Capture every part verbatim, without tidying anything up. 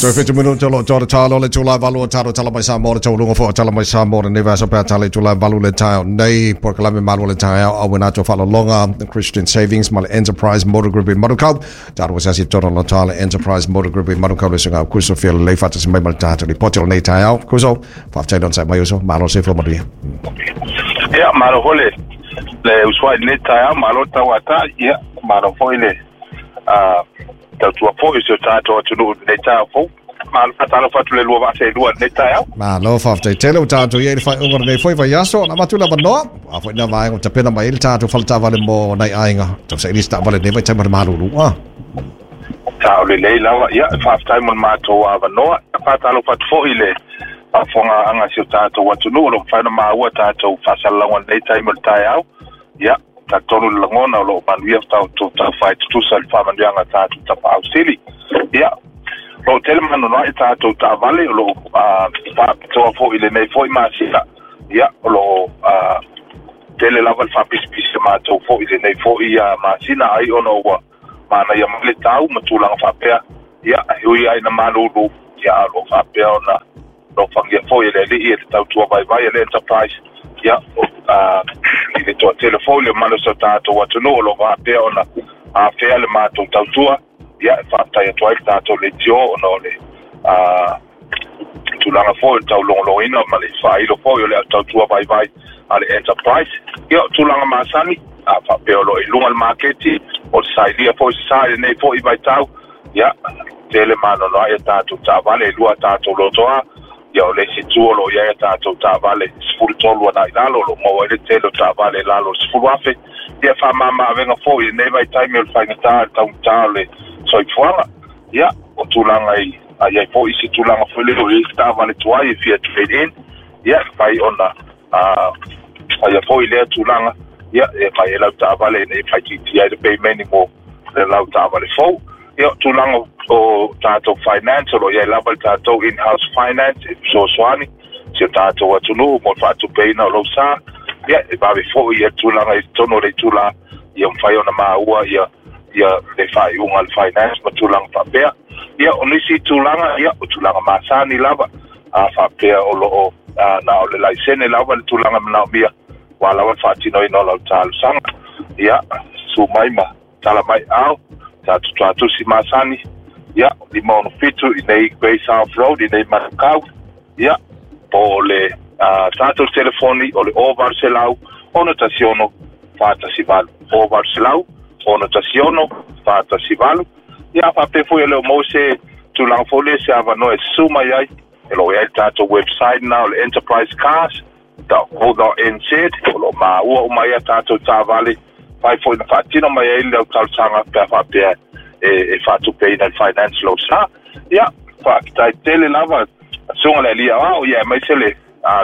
Toe fitu minuta o loo toa le talo le itula e valu o tatou tala mai Samoa le taualuga foi o tala mai Samoa lenei vaiaso pe a tala i itula e valu le taeao nei polokalame malu o le taeao auina atu faalologa Christian Savings ma le Enterprise Motor Group i Manukau tatou asiasi i totonu o le le Enterprise Motor Group i Manukau le susuga Kuso fia lelei faatasi mai ma le tatou lipoti o lenei taeao. Kuso, faafetai le onosai mai uso, malo le soifua manuia. Ia, malo foi le le usuai i lenei taeao, malo le tauatai, ia, malo foi le tautua foi i si o tatou atunuu i lenei taeao fou. Malo, faatalofa atu le lua vaa seelua i lenei taeao. Malo, faafetai tele ua tatou i ai i le faaiuga o lenei foi vaiaso. Ona avatu le avanoa, a foi lena vaega ua tapena mai ai le tatou faletaavale mo nai aiga tausaili se taavale i lenei vaitaimi o le malulu. Ah. Sao lelei lava, ia, faafetai mo le matou avanoa. Faatalofa atu foi i le faafofogaaga a si o tatou atunuu o lo o mafai ona maua tatou faasalalauga i lenei taimi o le taeao. Ia, talitonu le lagona o lo o manuia tatou taufai tutusa i le faamanuiaga a tatou tapaau sili. Ia, o lo o tele manunoa'i tatou taavale o lo o faapitoa foi i lenei foi masina. Ia, o lo o tele lava le faapisipisi a matou foi i lenei foi masina ai ona ua manaia mai le tau ma tulaga faapea. Ia, e ui lava ina malulu, ia, a o lo o faapea ona alofagia foi e le Alii e le tautua vaivai a le Enterprise. Ia, i le toatele foi le mamalu o si o tatou atunuu o lo o faapea ona afea le matou tautua. Ia, e faafetai atu ai le tatou leitio ona o le tulaga foi o le taulogologoina ma le faailo foi o le tautua vaivai a le Enterprise. Ia, o tulaga masani, a faapea o lo o i luga le maketi, o le sailia foi se sa i lenei foi vaitau. Ia, tele maanoanoa'i a tatou taavale, e lua a tatou lotoa. Ia, o le isi itu o lo o i ai a tatou taavale sefulu tolu agai i lalo, o lo o maua ai le tele o taavale i lalo o le sefulu afe. Ia, faamama-avega foi i lenei vaitaimi o le faigata, le taugata o le soifuaga. Ia, o tulaga i a i ai foi se tulaga foi lea o i ai se taavale tuai e fia trade in, ia, e mafai ona faia foi lea tulaga, ia, e aumai ai lau taavale ina ia faaitiitia ai le payment mo le lau taavale fou. Ia, o tulaga o tatou finance, o lo o i ai lava le tatou in-house finance e fesoasoani si o tatou atunuu mo le faatupeina o lou sa. Ia, e vave foi ia tulaga i totonu o le itula, ia mafai ona maua ia ia le faaiuga a le finance ma tulaga faapea. Ia, o nisi tulaga, ia, o tulaga masani lava, a faapea o lo o na o le laisene lava le tulaga manaomia, ua lava le faatinoina o lau talosaga. Ia, susu mai ma tala mai ao, tatou tuatusi masani, ia, lima ono fitu i nei Grey South Road, i nei Manukau, ia, po o le tatou telefoni o le o valu selau, ono tasi ono, fa tasi valu, o valu selau, ono tasi ono, fa tasi valu. Ia, faapea foi e le o maua se tulaga foi lea se avanoa e susu mai ai, e lo o i ai le tatou website na o le enterprise cars dot co dot n z, o lo o maua uma ai a tatou taavale, fai foi na faatino mai ai le au talosaga pe a faapea e, e faatupeina le finance lou sa. Ia, faafetai tele lava susuga le alii aoao, ia aemaise le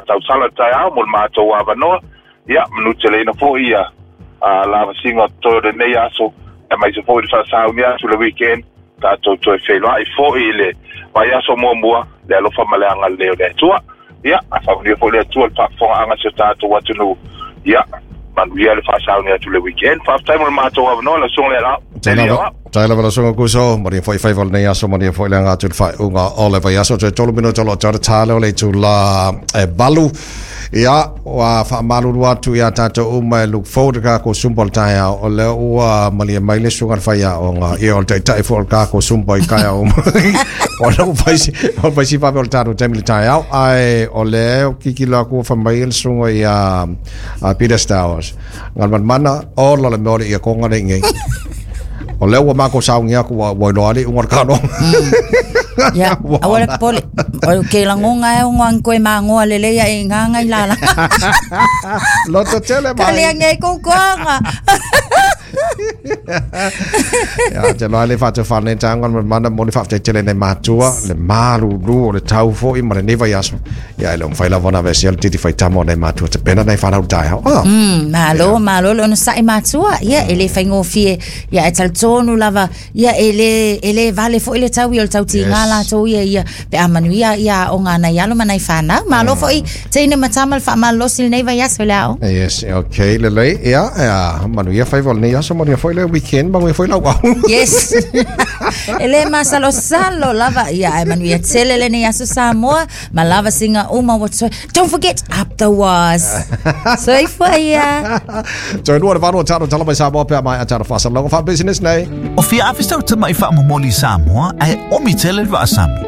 tausala le taeao mo le matou avanoa. Ia, manuteleina foi ia lavasiga o totoe o lenei aso, aemaise foi le faasauni atu le weekend, tatou toe feiloai foi i le vaiaso muamua, le alofa ma le agalelei o le Atua. Ia, faamanuia foi le Atua i le faafofogaaga a si o tatou atunuu. Ia, manuia le faasauni atu le weekend. Faafetai mo le matou avanoa, lau susuga le alii aoao. Tai lava lau susuga Kuso, manuia foi faiva o lenei aso, manuia foi le aga atu i le faaiuga o le vaiaso. Toe tolu minuta o lo o toa le tale o le itula e valu. Ia, ua faamalulu atu ia tatou uma e look forward i kākou Zumba o le taeao, o lea ua malie mai le susuga i le faiaoga, ia o le taitai foi o le kākou Zumba i taeao uma. O lea ua fai si, ua fai si vave o le tatou taimi i le taeao, ae o lea ua kikilo atu ua fai mai le susuga ia Peter Stowers. Galumalemana, ola le mea o le ia konga nei nei. O lea ua matou sauni atu ua ua iloa le iuga o le kanoa. Ia, aua le popole. O ke lagonga e ono ang koe magoa lelei ae i nganga i lala. Loto tele mai. Kale ange koukoanga. Ia, te loa le whātou whānei tānga ma mana mo le whātou tele nei mātua, le malulu o le tau foi ma le nei vaiaso. Ia, e le omwhai lava na vesi o le titi whai tama o nei mātua, te pena nei whanau taeao. Ah. Mm, malo, malo le ono sa'i mātua. Ia, e le whaingofie, ia, e talitonu lava, ia, e le, e le vale foi le tau ia o le tau tiga Yes. latou ia, ia, pe a manuia ia o ngā nei alo ma nei whanau. Malo foi, teine matama le whaamalolosi lenei vaiaso le ao. Yes, okay, lelei. Ia, ia, manuia whaiva o lenei aso, manuia foi le weekend, manuia foi lau au. Yes. E le masalosalo lava ia ai manuia tele lenei aso Samoa ma lava singa uma wa toi. Don't forget up the was. Soifua ia. Toe lua le valu o talo talo mai Samoa pea mai a talo whaasalaga wha business nei. O fia awhistau te mai whaamomoli Samoa ae omi tele le vaasami.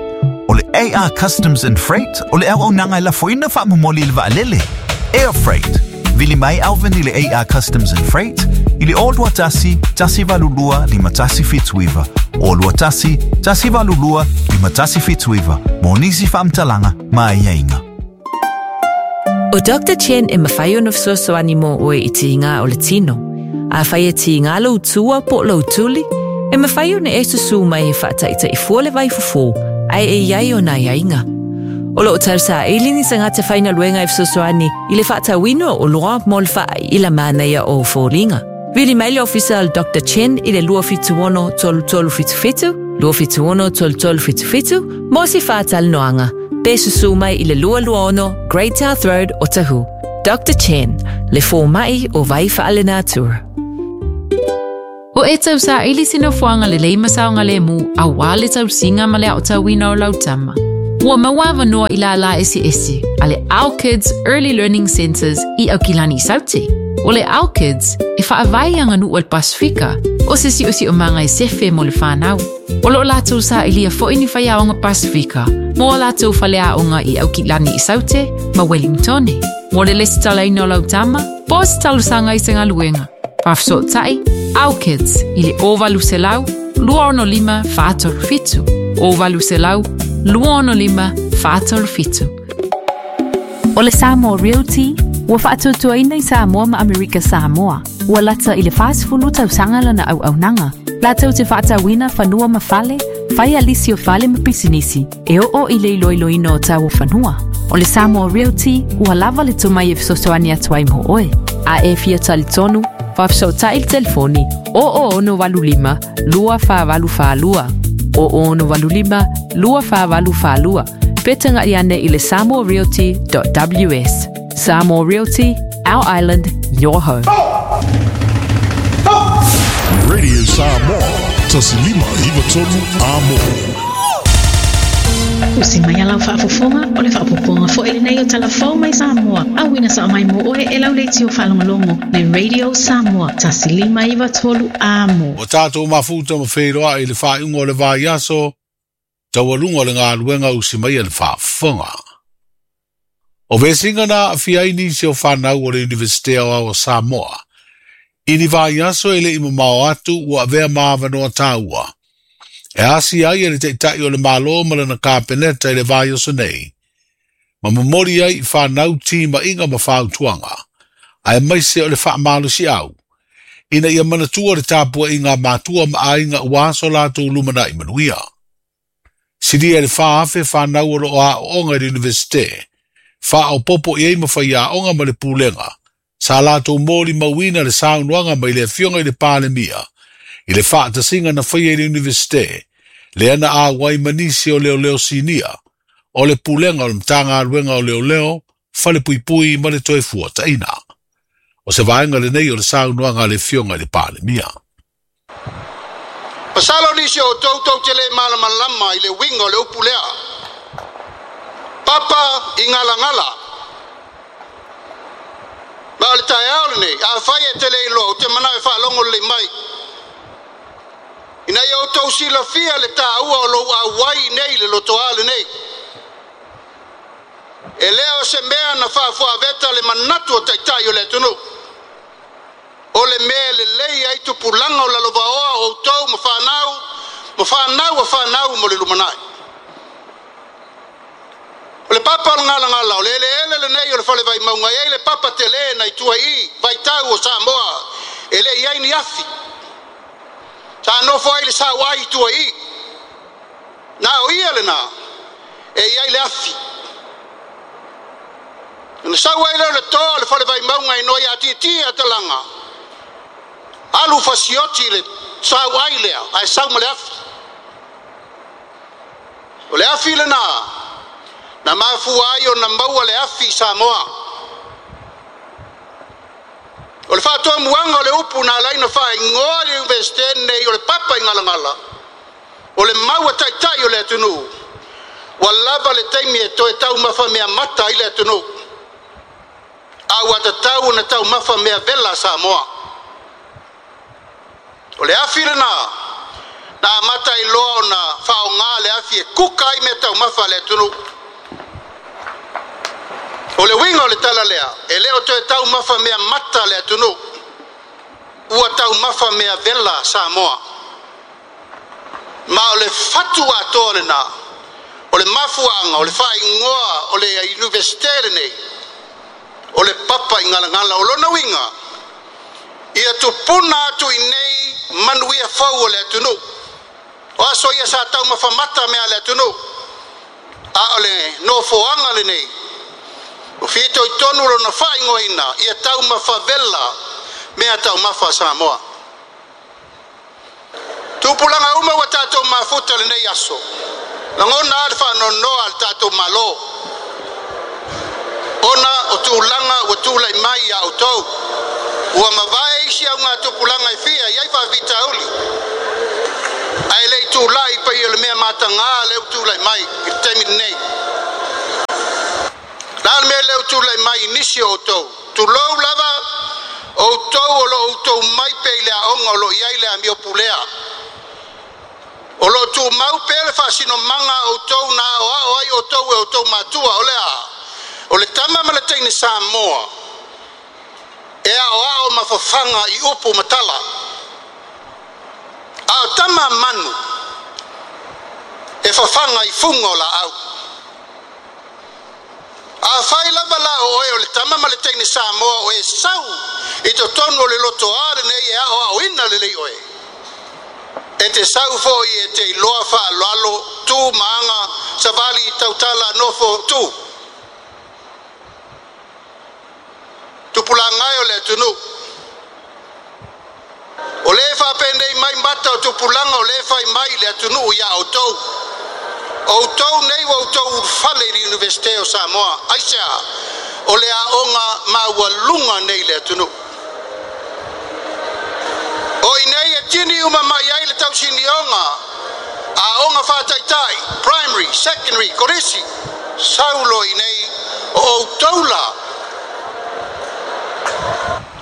O le A R Customs and Freight o le au au nanga e lafoina whaamomoli le vaalele. Air Freight. Vili mai Alvin i le A R Customs and Freight i le o lua tasi, tasi valu lua, lima tasi fituiva. O lua tasi, tasi valu lua, lima tasi fituiva. Mo nisi whaamtalanga, mai ieinga. O Doctor Chen e mawhai ona fesoasoani mo oe i tiiga o le tino. A whai e tiiga lou tua po lou tuli, e mawhai ona e susu mai e whaataita'i le vai fofo, ai e iai o nā iaiga. O loo tausa e lini sa ngata whaina luenga e fesoasoani i le whaatauina o loa mo le whaai i la mānaia o fōlinga. Vili mai le ofisa al Doctor Chen i le lua fitu ono tolu tolu fitu fitu, lua fitu ono tolu tolu fitu fitu, mo si whaatal noanga. Pe susu mai i le lua lua ono Great South Road o Tahu. Doctor Chen, le fō mai o vai whaale natura. O e tau sa ili sina fuanga le leima saonga le mu a wā le tau singa ma le au tauina o lautama. Ua maua noa i la la esi esi, a le Our Kids Early Learning Centers i Aukilani Sauti. O le Our Kids e whaawai anga nu al Pasifika o se si o si o manga e sefe mo le whanau. O lo lātou sa ilia fo ini whaiaonga Pasifika, mo o lātou whaleaonga i Aukilani i Saute ma Wellingtone. Mo le lesi talaina o lautama, po se talusanga i se ngaluenga. Whafso tai, Our Kids i le o valu selau, lua ono lima whaatolu fitu. O valu selau, lua ono lima whaatolu fitu. O le Samoa Realty, ua whaatutuaina i Samoa ma Amerika Samoa. Ua lata i le whaasifulu tausanga lana au aunanga. Lātou te whaatauina whanua ma fale, whai alisi o fale ma pisinisi, e o o i le iloiloina o tau o whanua. O le Samoa Realty, ua lava le tumai e fesoasoani atu ai mo oe. A e fia talitonu, whaafesootai le telefoni, o o ono walu lima, lua wha walu wha lua. O o ono walu lima, lua wha walu wha lua. Petanga iane i le samoa realty dot w s. Samoa Realty, our island, your home. Radio Samoa, Tasilima Ivatonu Amo. O si mai alau whaafofonga, o le whaapoponga fo ele nei o talafou mai Samoa. Au ina sa mai mo oe e lau le tio whalongolongo le Radio Samoa, Tasilima Ivatolu Amo. O tātou mafuta ma wheiroa i le whaingo o le vaiaso, taualunga o le ngā luenga usi mai le whaafonga. O vesinga na awhia nisi o whanau o le Universitea o o Samoa. Ini vaiaso e le imamao atu ua avea maavanoa tāua. E asi ai e le teitai o le malo ma lana kāpeneta i le vaiaso nei. Ma mamori ai i whanau tima inga ma whautuanga. Ae maise o le whaamalosi au. Ina ia manatua le tāpua i ngā mātua ma ainga uaso lātou lumana i manuia. Siria le whaafe whanau o lo a onga i le universite. Wha o popo i ei mawhai a onga ma le pūlenga. Sa lātou mōri mauina le saunuanga mai le afionga i le pālemia. I le whaatasinga na whai i le universite. Le ana a wai manisi o leo leo sinia. O le pūlenga o le mtanga aluenga o leo leo, whale pui pui ma le toe fua taina. O se vaenga le nei o le saunuanga le afionga i le pālemia. Pasalo nisi o tautou te le malamalama i le winga o le upu lea. Papa i ngalangala. Ma o le taeao lenei, a whai e te le iloa, o te manao e whaalongo le mai. Ina ia o tau silafia le tāua o lou auai nei le lotoa lenei. E lea o se mea na whaafuaveta le manatu o taitai o le atunu. O le mea le lei ai tupulanga o lalovaoa o tau ma whanau, ma whanau a whanau mo le lumanai. O le papa o le ngalangala, o le ele ele le nei o le fale vai maunga, e le papa te le na i tua i, vai tau o Samoa, e le iai ni afi. Sa nofo ai le sau ai i tua i. Nā o ia le nā, e iai le afi. Na sau ai leo le toa le fale vai maunga i noi a titia talanga. Alu fasioti le sau ai lea, ai sau ma le afi. O le afi le nā, na mafua ai o na maua le afi Samoa. O le faatoamuaga o le upu na alaina faaigoa le Iunivesite lenei o le papa i galagala, o le mau a taitai o le atunuu, ua lava le taimi e toe taumafa mea mata ai le atunuu, a ua tatau ona taumafa mea vela Samoa. O le afi lena, na amata i loa ona faaaoga le afi e kuka ai mea taumafa a le atunuu. O le uiga o le tala lea, e le o toe taumafa mea mata le atunuu, ua taumafa mea vela Samoa. Ma o le fatu atoa lena, o le mafuaaga, o le faaigoa o le Iunivesite lenei, o le papa i galagala. O lona uiga, ia tupuna atu i nei manuia fou o le atunuu. O aso ia sa taumafa mata mea le atunuu, a o le nofoaga lenei, o fito i tonu lona faaigoaina, ia taumafa vela mea taumafa Samoa. Tupulaga uma ua tatou mafuta lenei aso, lagona a le faanoanoa a le tatou Malo, ona o tulaga ua tulai mai ia outou, ua mavae isi auga tupulaga e fia i ai faafitauli, ae le i tulai pai o le mea mataga le u tulai mai i le taimi lenei. La le mea le u tulai mai i nisi o outou, tulou lava outou o lo outou mai pe i le aoga o lo i ai le amio pulea. O lo tumau pe le faasinomaga outou na aoao ai outou e outou matua, o le a, o le tama ma le teine Samoa, e aoao mafafaga i upu ma tala. A o tama manu, e fafaga i fuga o laau. A fai lava la o oe o le tama ma le teine Samoa o e sau i totonu o le lotoa lenei e aoaoina lelei oe. E te sau foi e te iloa faaaloalo, tu maaga, savali, tautala, nofo, tu. Tupulaga e o le atunuu. O le faapenei mai mata o tupulaga o le fai mai le atunuu ia outou. Outou nei ua outou ulufale i le Iunivesite o Samoa. Aisea, o le aoga maualuga nei le atunuu. O i nei e tini uma mai ai le tausinioga, aoga faataitai, primary, secondary, kolisi, saulo i nei o outou la.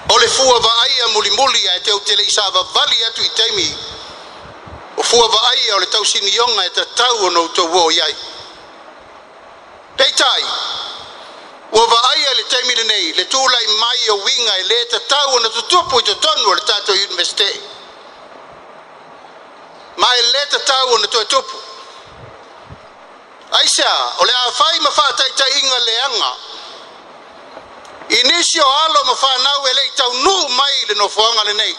O le fua vaaia mulimuli ae te utele i savavali atu i taimi, o fua vaaia o le tausinioga e tatau ona outou o i ai. Peitai, ua vaaia le taimi lenei, le tulai mai o uiga e le tatau ona tutupu i totonu o le tatou Iunivesite. Ma e le tatau ona toe tupu. Aisea, o le afai ma faataitaiga leaga, i nisi o alo ma whanau e lei taunuu mai le nofoaga lenei.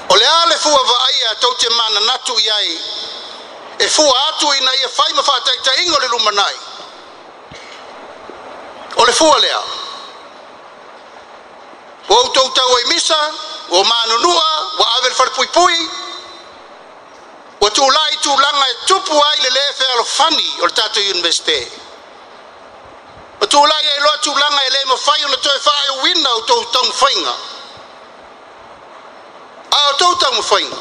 O le a le fua vaaia tou te mananatu i ai, e fua atu ina ia fai ma faataitaiga o le lumanai. O le fua lea, ua outou tau ai misa, ua manunua, ua ave le falepuipui, ua tulai tulaga e tupu ai le le fealofani o le tatou Iunivesite. Ma tulai ai loa tulaga e le mafai ona toe faaiuina o tou taumafaiga. A o tou taumafaiga,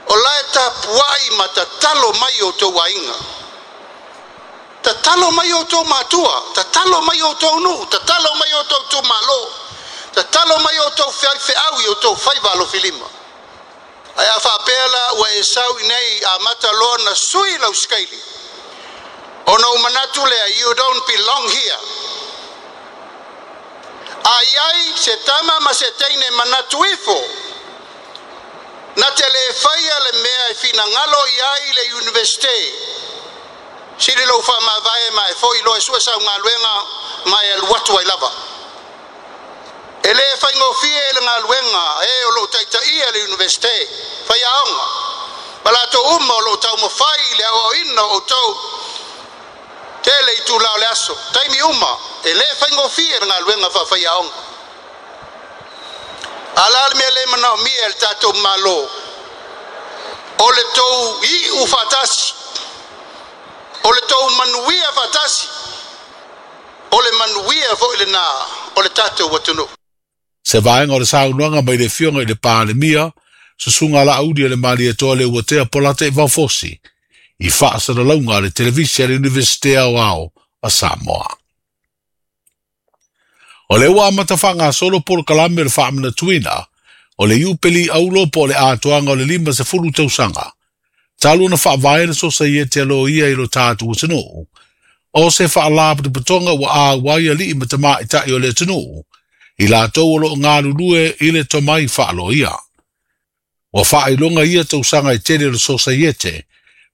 o la e tapuai ma tatalo mai o tou aiga. Tatalo mai o tou matua, tatalo mai o tou nuu, tatalo mai o tou tumalo, tatalo mai o tou feau i o tou faiva alofilima. Ae a faapea la ua e sau i nei a mata loa na sui lau sikaili, ona u manatu lea, you don't belong here. A iai se tama ma se teine manatu ifo, na te le faia le mea e finagalo i ai le Iunivesite, sili lou faamavae ma e foi loa e sue saugaluega ma e alu atu ai lava. E le faigofie le galuega e o lou taitaia le Iunivesite, faiaoga, ma latou uma o lou taumafai le aoaoina o outou, tele i tula o le aso, taimi uma, e le faigofie le galuega faafaiaoga. A la le mea le manaomia e le tatou Malo, o le tou iu faatasi, o le tou manuia faatasi, O le manuia foʻi lenā o le tatou atunuu. Se vaega o le saunoaga mai le afioga i le Palemia, susuga Laauli o le Malietoa Leuatea Polataivao Fosi, i faasalalauga a le televisi a le Iunivesite Aoao a Samoa. O le ua amata faagasolo polokalame o le faamanatuina o le Iupeli Aulo po o le atoaga o le lima sefulu tausaga, talu ona faavae le Sosaiete a Loia i lo tatou atunuu, o se faalapotopotoga ua auai aliʻi ma tamaʻitaʻi o le atunuu, i latou o loo galulue i le tomai faaloia. Ua faailoga ia tausaga e tele o le Sosaiete,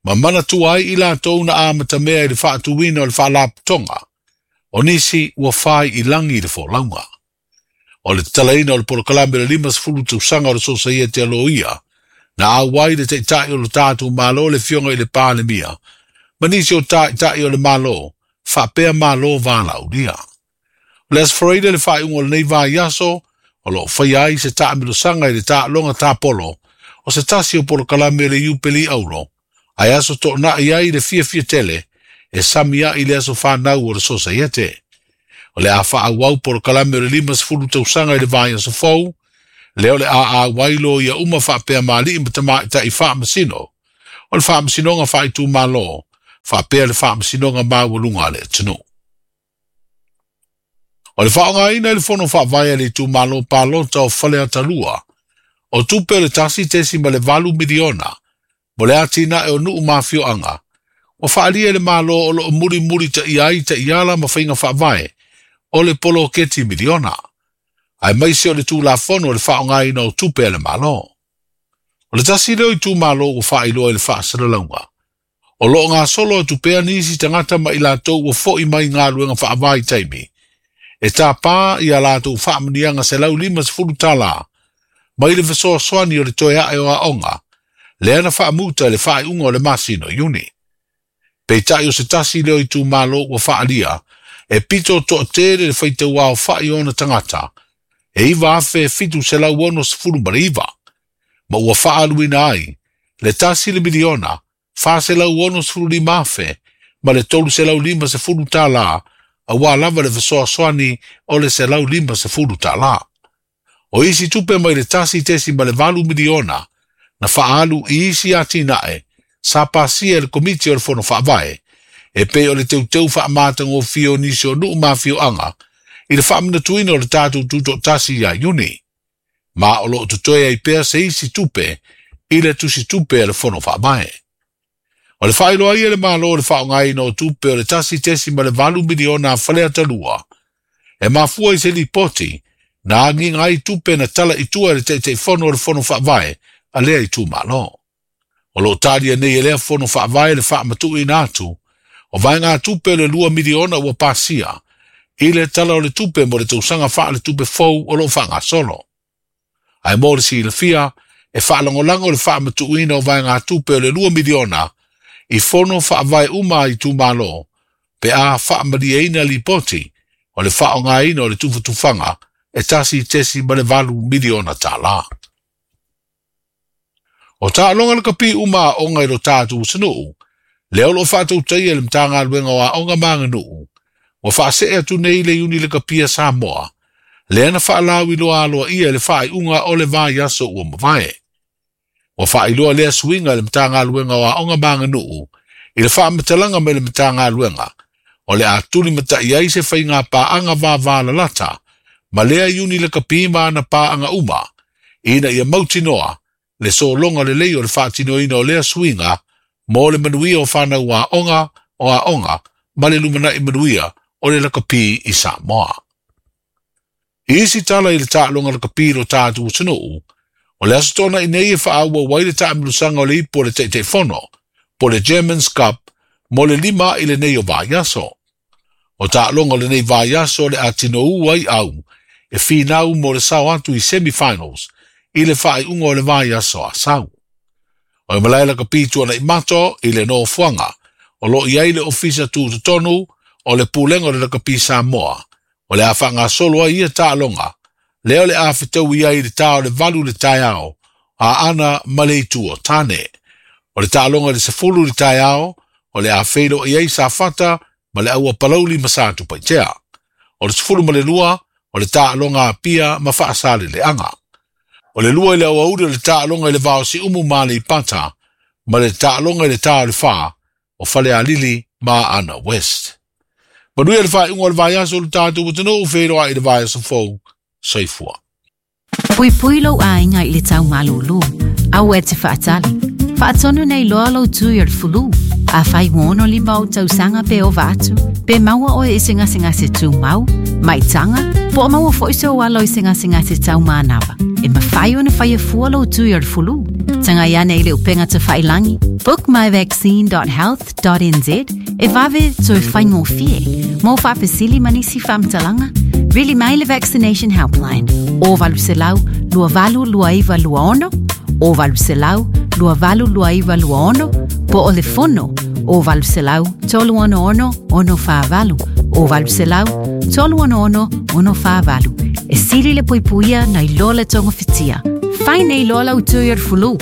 ma manatua ai i latou na amatamea i le faatuina o le faalapotopotoga, o nisi ua fai i lagi i le folauga. O le tatalaina o le polokalame o le lima sefulu tausaga o le Sosaiete a Loia, na auai le taʻitaʻi o lo tatou Malo le afioga i le Palemia, ma nisi o taʻitaʻi o le Malo, faapea Malo valaaulia. O le Aso Faraile le faaiuga o lenei vaiaso, o loo faia ai se taamilosaga i le taaloga tapolo, o se tasi o polokalame o le Iupeli Aulo, ae aso toonai ai le fiafia tele, e sami ai le aso whanau o le Sosaiete. O le a faaauau polokalame o le lima sefulu tausaga i le vaiaso fou, lea o le a auai loia uma faapea ma aliʻi ma tamaʻitaʻi faamasino, o le faamasinoga faaitumalo, faapea le faamasinoga maualuga a le atunuu. O le faaaogaina i le fono faavae a le itumalo palota o Faleatalua, o tupe o le tasi tesi ma le valu miliona, mo le atinae o nuu ma afioaga, ua faaalia e le Malo o loo mulimulitaʻia ai taʻiala ma faiga faavae o le poloketi miliona, aemaise o le tulafono o le faaaogaina o tupe a le Malo. O le tasi leo itumalo ua faailoa i le faasalalauga, o loo gasolo atu pea nisi tagata ma i latou ua foʻi mai galuega faavaitaimi, e tapā ia latou faamanuiaga selau lima sefulu tālā, mai le fesoasoani o le toe aʻe o aoga, lea na faamuta i le faaiuga o le masina o Iuni. Peitai o se tasi leo itumalo ua faalia, e pito toatele le faitauaofaʻi o ona tagata, e iva afe fitu selau ono sefulu ma le iva, ma ua faaluina ai le tasi le miliona, fa selau ono sefulu lima afe, ma le tolu selau lima sefulu tālā, auā lava le fesoasoani o le selau lima sefulu tālā. O isi tupe mai le tasi tesi ma le valu miliona, na faalu i isi atinae, sa pasia e le komiti o le fono faavae, e pei o le teuteu faamatagofie o nisi o nuu ma afioaga, i le faamanatuina o le tatou tutoʻatasi ia Iuni. Ma o loo totoe ai pea se isi tupe i le tusitupe a le fono faavae. O le faailoa ai e le Malo o le faaaogaina o tupe o le tasi tesi ma le valu miliona a Faleatalua, e mafua i se lipoti na agiga ai tupe na tala i tua e le taʻitaʻifono o le fono faavae a lea itumalo. O loo talia nei e lea fono faavae le faamatuuina atu o vaegatupe o le lua miliona ua pasia i le tala o le tupe mo le tausaga faaletupe fou o loo faagasolo. Ae mo le silafia, e faalagolago le faamatuuina o vaegatupe o le lua miliona i fono faavae uma a itumalo, pe a faamalieina lipoti o le faaaogaina o le tufatufaga e tasi tesi ma le valu miliona tālā. O taaloga lakapi uma aoga i lo tatou atunuu, lea o loo faatautaia e le Matagaluega o Aoga ma Aganuu, ua faasee atu nei le iuni lakapi a Samoa, lea na faalauiloa aloaia i le faaiuga o le vaiaso ua mavae. Ua faailoa lea suiga e le Matagaluega o Aoga ma Aganuu i le faamatalaga mai le Matagaluega, o le a tulimataʻi ai se faiga paaga vavalalata, ma lea iuni lakapi ma ana paaga uma, ina ia mautinoa le sologa lelei o le faatinoina o lea suiga mo le manuia o fanau aoga o aoga ma le lumanaʻi manuia o le lakapi i Samoa. I isi tala i le taaloga lakapi i lo tatou atunuu, o le aso tonaʻi nei e faaauau ai le taamilosaga o le ipu o le taʻitaʻifono, po le German's Cup, mo le lima i lenei o vaiaso. O taaloga o lenei vaiaso o le a tinoū ai au e finau mo le sao atu i semifinals i le faaiuga o le vaiaso Asau. O le malae lakapi Tuanaimato i le nofoaga, o loo i ai le ofisa tutotonu o le pulega o le lakapi Samoa, o le a faagasolo ai ia taaloga, lea o le a fetaui ai i le tā o le valu le taeao, a ana ma le itu o tane. O le taaloga i le sefulu le taeao, o le a feiloai ai Safata ma le Auapalauli ma Satupaitea. O le sefulu ma le lua o le taaloga Apia ma Faasaleleaga. O le lua i le aoauli o le taaloga i le va o Siumu ma Aleipata ma le taaloga i le tā o le fa o Falealili ma Aana West. Manuia le faaiuga o le vaiaso o le tatou atunuu feiloai i le vaiaso fou. Soifua. Puipui lou aiga i le tau malūlū, aua e te faatali. Faatonu nei loa lou tui o le fulu. Afai ua ono lima ou tausaga pe ova atu, pe maua oe i se gasegase tumau, maitaga, po o maua foi sou alo i se gasegase taumanava. E mafai ona faia fua lou tui o le fulu. Tagai ane i le upega tafailagi, book my vaccine dot health dot n z e vave toe faigofie. Mo faafesili ma nisi faamatalaga, vili mai le Vaccination Helpline o valu selau lua valu lua iva lua ono, o valu selau lua valu lua iva lua ono, po o le fono o valu selau tolu ono ono ono whaavalu, o valu selau tolu ono ono ono whaavalu. E sili le puipuia na i loa le tonga fitia. Fai nei loa lau tui o le fulu.